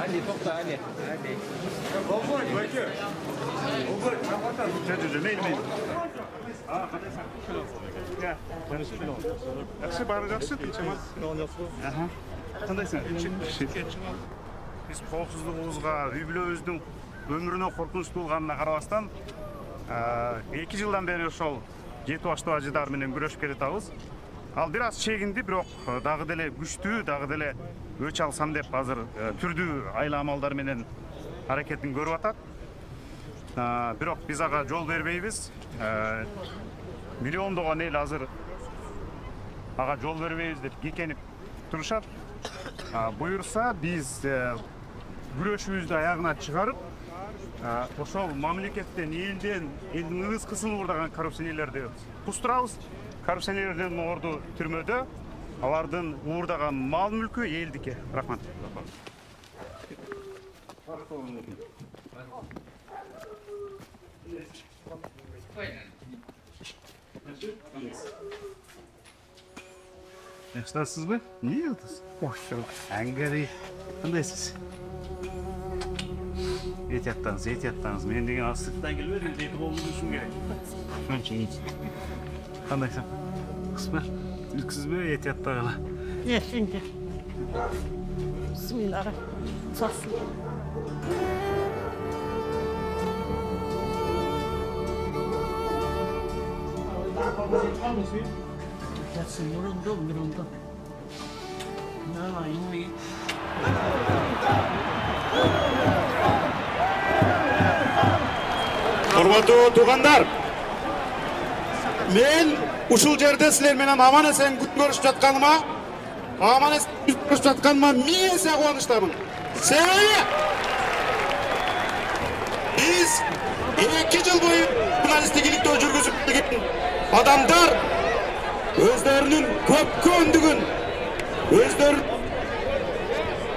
Ali, tokta Ali. Жақсы, бары жақсы, тынчымас. Қандайсың? Біз коопсуздугубузга, үй-бүлөбүздүн өмүрүнө коркунуч туулганына карабастан 2 жылдан бери ошол жети баштуу ажыдар менен күрөшүп келатабыз. Ал бир аз чегинди, бирок дагы деле күчтүү, дагы деле өч алсам деп азыр түрдүү айла амалдар менен аракетин көрүп атат. Бирок биз ага жол бербейбиз. Миллиондогон эл азыр ага жол бербейбиз деп кекенип турушат. Буюрса биз күрөшүбүздү аягына чыгарып, ошол мамлекеттен, элдин ызкысын уурдаган коррупционерлерди кустурабыз. Коррупционерлердин орду түрмөдө, алардын уурдаган мал мүлкү элдики. Рахмат. Yaxşısınızmı? Niye yıldız? Hoş bulduk. Angari. Kandaysiz? Ehtiyattınız. Men degen aslıktan gelmedim. Deyip oldu düşün gerek. Şunca iyi. Kandaysın? Kısmı? Ülksüz mü ehtiyatta gala? Şimdi. Bismillahirrahmanirrahim. Sasın. Gelsin yoruldu. Ne yine. Hormatуу tуугандар, men ушул жерде силер менен аман эсен күн көрүшүп жатканыма, миң эсе кубанычтамын. Себеби биз 2 жыл бою журналисттик иликтөө жүргүзүп келген адамдар өздөрүнүн көпкөндүгүн, өздөрүнүн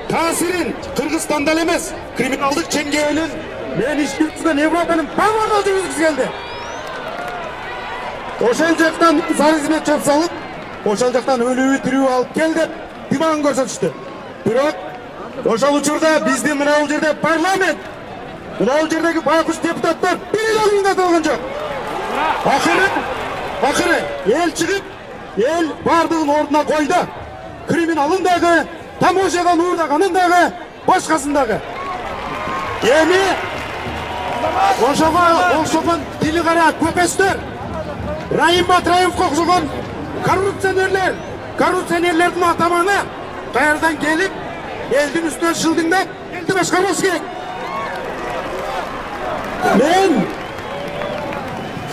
таасирин Кыргызстанда эле эмес, криминалдык чеңгээлин мен иш жүргүзгөн Европанын баардыгына жүргүзгүсү келди. Ошол жактан сары қызмет чап салып, ошол жактан өлүүбү тирүү алып кел деп димагын көрсөтүштү. Бирок ошол учурда биздин мына бул жерде парламент, мына бул жердеги байкуш депутаттар бир да миңдеп алган жок. Акыры эл чыгып, эл бардыгын ордуна койду. Криминалын дагы, тамошадан уурдаганын дагы, башкасын дагы. Эми ошого окшогон тили кара көпөстөр, Райым Батраевке окшогон коррупционерлердин атаманы каярдан келип, элдин үстүнө шылдыңдап, элди башкарбаш керек. Мен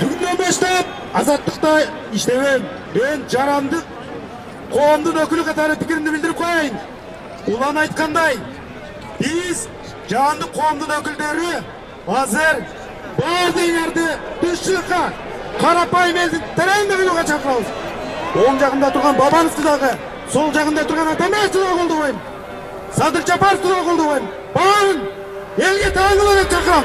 күндөн баштап азаттыкта иштебейм. Мен жарандык коомдун өкүлү катары пикиримди билдирип коеюн. Улан айткандай, биз жарандык коомдун өкүлдөрү азыр баардыгыңарды тышчылыкка, карапайым элдин тереңде кылууга чакырабыз. Оң жагында турган бабаңызды дагы, сол жагында турган Атамбаевди дагы колдобойм. Садыр Жапаровду дагы колдобойм. Баарын элге таанылуу деп чакырам.